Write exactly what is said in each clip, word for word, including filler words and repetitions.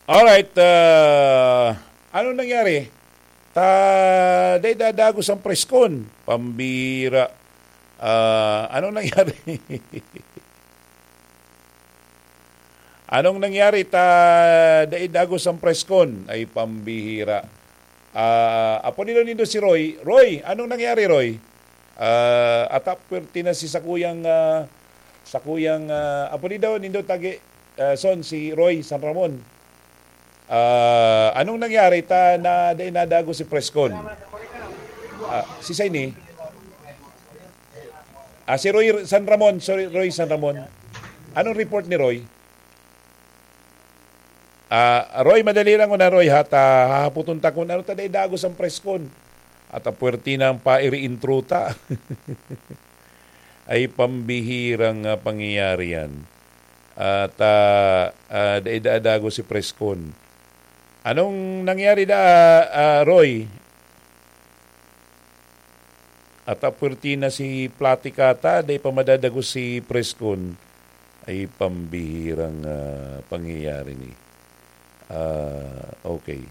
Alright, ah, anong nangyari? Ta, dai dadagos ang preskon. Pambira. Ah, anong nangyari? Anong nangyari? Ta, dai dagos ang preskon. Ay, pambihira. Ah, apo nila nindo si Roy. Roy, anong nangyari, Roy? Ah, ata puwerte na si sakuyang, ah, sakuyang, ah, apo ni daw nindo tagi, ah, son, si Roy San Ramon. Ah, anong nangyari ta na dai nadagos si preskon? Ah, si Saini? Ah, si Roy San Ramon, sorry, Roy San Ramon. Anong report ni Roy? Ah, Roy, madali lang na, Roy, ha? Ta, hahapoton ta kun ano ta dai dagos ang preskon. At ang puwerte na ang pairi intro ta. Ay, pambihirang, ah, pangyayari yan. At, ah, ah, dai da dagos si preskon. Anong nangyari da, ah, Roy? At, ah, puwerte na si Platik ata, dai pa madadagos si preskon. Ay, pambihirang, ah, pangyayari ni. Ah, okay.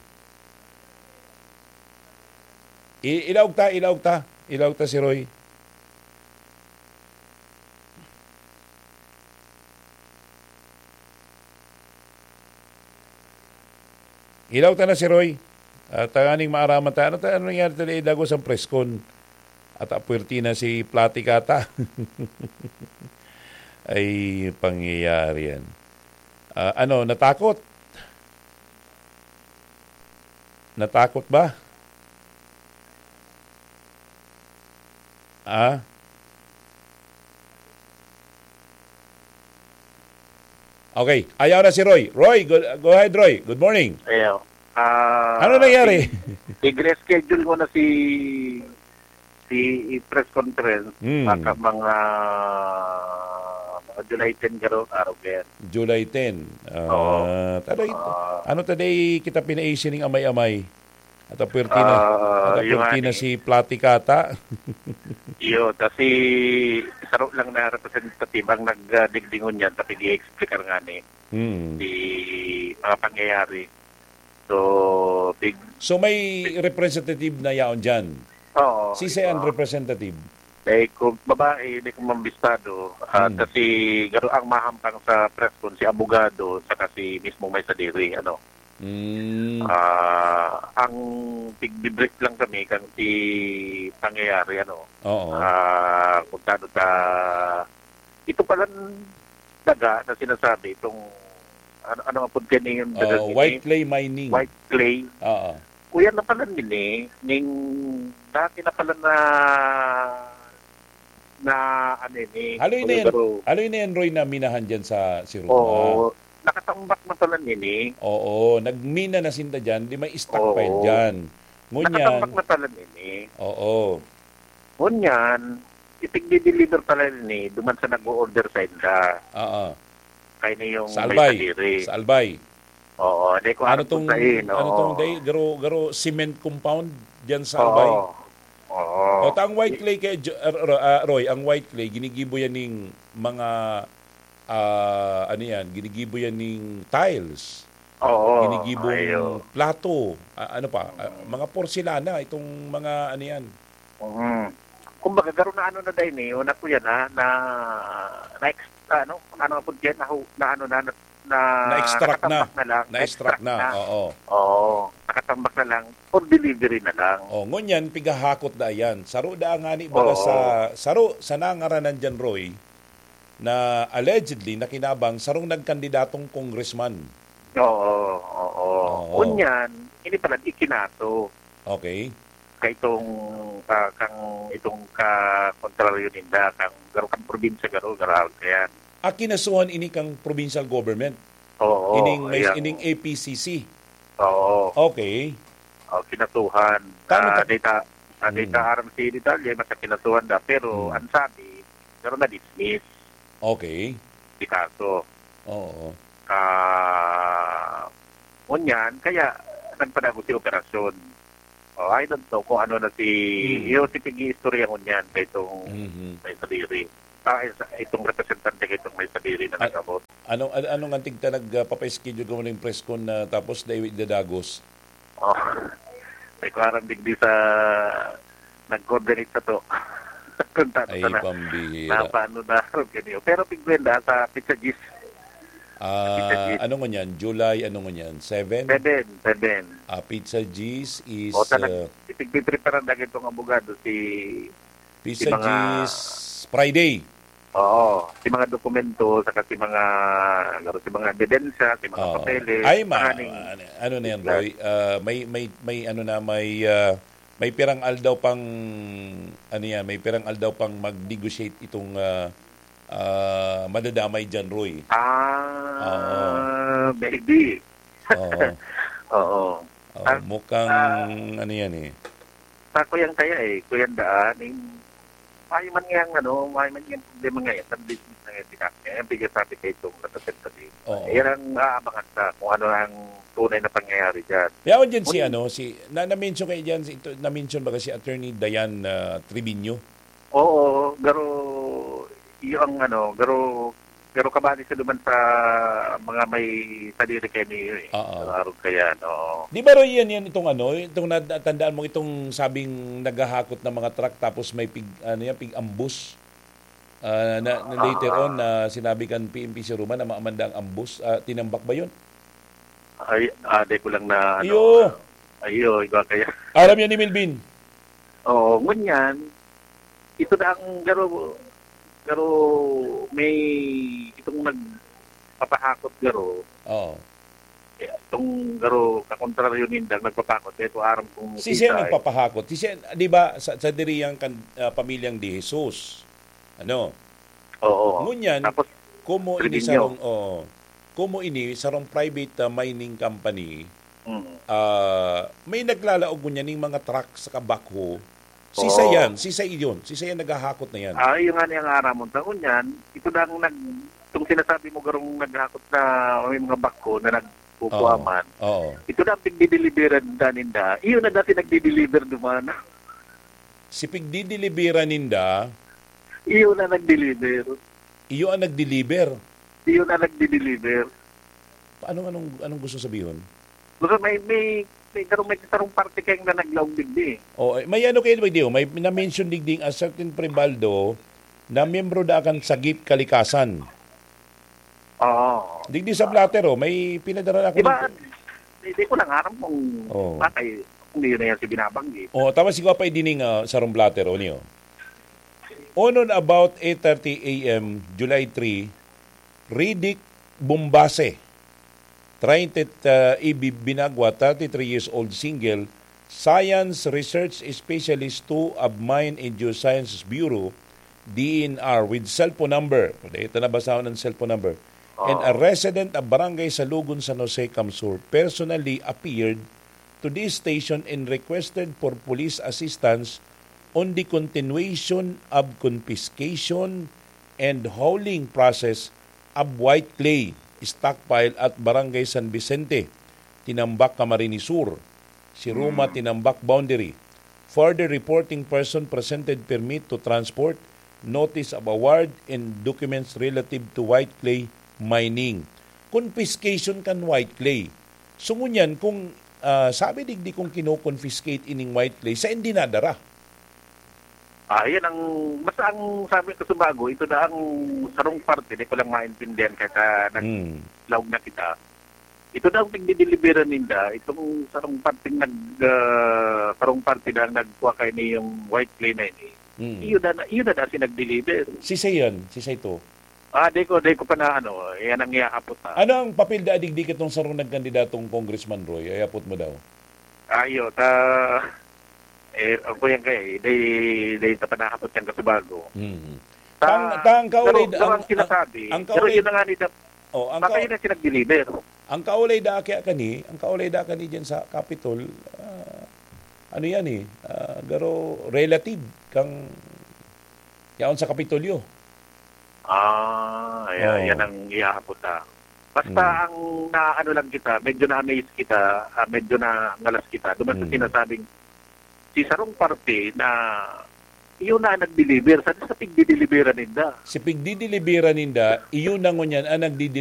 I-, ilaog ta, ilaog ta. Ilaog ta si Roy. Ilaog ta na si Roy. At tanganing maaraman ta, ano ta, ano nangyari ta, dai dagos ang preskon? At apuwerte na si Platik ata. Ay, pangyayari yan. Ah, ano, natakot? Natakot ba? Ah? Okay, ayaw na si Roy. Roy, go, go ahead, Roy. Good morning. Ayaw. Ah, Ano nangyari? Ig-, ig-reschedule ko na si, si press conference. Hmm. Baka mga, mga July ten garo, araw kaya. July ten. Ah, Oo. taday, Ah. ano taday kita pinaisi ning amay-amay? At ang puwerte na, Ah, at ang yung puwerte na ani. si Platik ata. Iyo, ta si saro lang na representative ang nagdigdingon niyan, ta pig-i-explicar ngani Hmm. si mga pangyayari. So, big So, may representative na yaon diyan? Oo, Si Sean oo. representative? Dai ko, babae, dai ko mambistado. Ah, Hmm. ta si, garo ang mahampang sa press con, si abogado, saka si mismong may sadiri, ano. Hmm. Ah, ang tigbi-brief lang kami kan si pangyayari, ano. Oo. Ah, kung tano ta, ito palan daga na sinasabi, itong, ano, ano ang pagka niyon daga Oh, nini? white clay mining. White clay. Oo. Kuya na pala nini, ning dati na pala na, na ano ini, Haloy na yan, Kuya Bro. haloy na yan, Roy, na minahan dyan sa Siruma. Oo, nakatambak na pala nini. Oo, nagmina na sinda dyan, di may stockpile Oo. dyan. Ngunyan, Nakatambak na pala nini. Oo. Ngunyan, itigdi-deliver pala nini, duman sa nag-o-order sa inda. Oo. Kaya na yung Sa may Albay. kadiri. Sa Albay. Oo, di ko Ano aram kung tong, sain, ano oo. tong day, garo, garo cement compound diyan sa Oo. Albay? Oo. O, ta ang white clay kay Jo-, ah, Ro-, ah, Roy, ang white clay, ginigibo yan ning mga, ah, ano yan, ginigibo yan ning tiles. Oo, Ginigibong ayo. plato, ah, ano pa, ah, Mm. mga porselana, itong mga ano yan. Mm. Kumbaga, garo na ano na dai ni, una ko yan, ha, na, na ex-, ano, ano po yan, na, na ano na, na, na, Na-extract na. nakatambak na lang. Na-extract na, Extract na. oo. Oo, nakatambak na lang. For delivery na lang. Oh, ngunyan, pigahakot da yan. Saro da nga ni baga Oo. sa, saro, sa nangaranan dyan, Roy, na allegedly nakinabang sarong nagkandidatong congressman. Oo, oo. Oo. Ngunyan, ini pala, ikinaso. Okay. Kaitong, ah, kang itong ka-, kontraryo ninda, kang garo, kang probinsya garo, garo, yan. Ah, kinasuhan ini kang provincial government? Oo, Ining may, ayan. ining A P C C? Oo. Okay. Oh, kinasuhan. Kano Ah, ka- data, ah, Hmm. data R M C detalye, basta kinasuhan na. Pero Hmm. ang sabi, pero na-dismiss. Okay. Di kaso. Oo. Ah, ngunyan, kaya nagpadagot si operasyon. Oh, I don't know kung ano na si, Hmm. yung si pag-iistorya ngunyan kay itong Mhm. may sadiri. tayo sa itong representante ko itong may sadiri na At nag-abot. Anong, an-, anong antig ta nag, ah, papa-schedule ko muna yung press con na tapos dai idadagos? Oh. May kuwarang digdi sa nag-coordinate sa to. Kung tato Ay, sana pambihira. Napaano na ron kaniyo. Pero pigwenda sa Pizza Gis. Ah, Pizza Gis. Ano ngunyan? July, ano ngunyan? Seven? Seven, seven. Ah, Pizza Gis is, O, talag-, ah, ipigpipreparan na itong abogado si Pizza si mga Gis, Friday. Oo, si mga dokumento, saka si mga, laro si mga ebidensya, si mga Oo. papeles, Ay, ma-, mga ning ano, ano na yan, isla. Roy? Ah, may, may, may ano na, may, ah, may pirang aldaw pang, ano yan, may pirang aldaw pang mag-negotiate itong, ah, ah, madadamay dyan, Roy. Ah, Oo. maybe. Oo. Oo. Oo, Ang, mukhang ah, ano yan eh. Sa kuyang kaya eh, kuyang daan, eh, mayo man nga ang ano, mayo man nga ang problema nga yan, sa business na yan, tinakya. Yan, bigyan sabi kayo itong representative. Oo. Yan ang aabangan sa kung ano ang tunay na pangyayari dyan. Yaon dyan si Uy. ano, si, na, na-mention kayo dyan, si, ito, na-mention ba si Attorney Diane, ah, Trevino? Oo, garo, iyo ang ano, garo, garo kabali sa duman sa mga may sadiri kay Neo eh. Oo. Sa araw kaya, no? Di ba, Roy, yan, yan itong ano, itong natandaan mo, itong sabing naghahakot ng mga truck tapos may pig-, ano yan, pig-ambus? Ah, na, na later on, Ah. na sinabi kan P N P si Roman na maamanda ang ambus. Ah, tinambak ba yun? Ay, ah, di ko lang na, ano, Iyo. ah, iyo, iba kaya. Aram yan ni Melvin. Oo, ngunyan, ito na ang garo, garo may itong nagpapahakot garo. Oo. Eh, itong garo, kakontraryo nindang nagpapahakot, kaya ito aram kong Si siya kita, eh. nagpapahakot. Si siya, di ba, sa, sa diri yang kan-, ah, pamilyang De Jesus. Ano? Oo. Ngunyan, Tapos, komo ini Trevino. sarong, oo. Komo ini sarong private, ah, mining company, Mm. ah, may naglalaog ngunyan ning mga truck saka backhoe. Si Oo. Sayan, si Sayon, si Sayan naghahakot na yan. Ah, yun nga niyang aramon. Sa ngunyan, ito na ang nag-, itong sinasabi mo, garong naghakot na may mga backhoe na nagkukuha Oo. man. Oo. Ito na ang pigdideliveran na ninda. Iyo na dati nagdideliver duman. Si pigdideliveran ninda? Iyo na nagdeliver. Iyo ang nagdeliver? Iyo na nagdideliver. Anong, anong, anong gusto sabihon? Baka may, may, may sarong, may sarong parte kayong na naglaog digdi. Oh, eh, may ano kayo, di ba, may na-mention digdi a certain Pribaldo na miyembro da kan Sagip Kalikasan. Oo. Digdi sa blotter, oh, may pinadara na ako Di ba, dito. Hindi ko lang aram kung Oo. bakit, kung yun na yan si binabanggit. Oh, tapos siguro pa idining, ah, sarong blotter, oh, niyo. On or about eight thirty A M, July three, Riddick Bombase, treinta, uh, A B Binagwa, thirty-three years old, single, science research specialist two of Mine and Geosciences Bureau, D N R, with cellphone number. Ito na basahon ang cellphone number. And a Oo. resident of Barangay Salugon, San Jose, CamSur, personally appeared to this station and requested for police assistance on the continuation of confiscation and hauling process of white clay stockpile at Barangay San Vicente, Tinambac, Camarines Sur, si Roma Hmm. Tinambac boundary. Further, reporting person presented permit to transport, notice of award, and documents relative to white clay mining. Confiscation kan white clay. So, ngunyan, kung, ah, sabi digdi kung kino-confiscate ining white clay, saen dinadara? Ah, yan ang, basta ang sabi ko sa bago, ito na ang sarong parte, di ko lang maintindihan kaya Hmm. naglaog na kita. Ito daw pigdideliveran ninda, itong sarong parteng nag, ah, sarong parte na nagkuha kay ni yung white clay na ini. Hmm. Iyo na, iyo na dati nag-deliver. Si Sayon, si Saito. Ah, di ko, di ko pa na ano, yan ang iyaapot, ah. Ano ang papel da digdi kitong sarong nagkandidatong congressman, Roy? Ay, apot mo daw. Ayo, ta, eh, ako yan kay, di, di ta panahapot yan kasubago. Hmm. Ta, Tang, tang kaulay pero, da, pero ang, ang sinasabi, ang pero kaulay yun na nga ni Dap, Oh, ang baka ka-, yun ang sinag-deliver. Ang kaulay da kaya kani, ang kaulay da kani dyan sa Capitol, ah, ano yan eh, ah, garo relative kang yaon sa Kapitolyo. Ah, ayan, Oo. yan ang ihaapot, ah. Basta Mm. ang naano lang kita, medyo na-amaze kita, ah, medyo nangalas kita. Duman sa Mm. sinasabing, si sarong parte na iyo na ang nag-deliver sa, sa pigdideliveran ninda. Si pigdideliveran ninda, iyo na ngunyan ang nagdideliver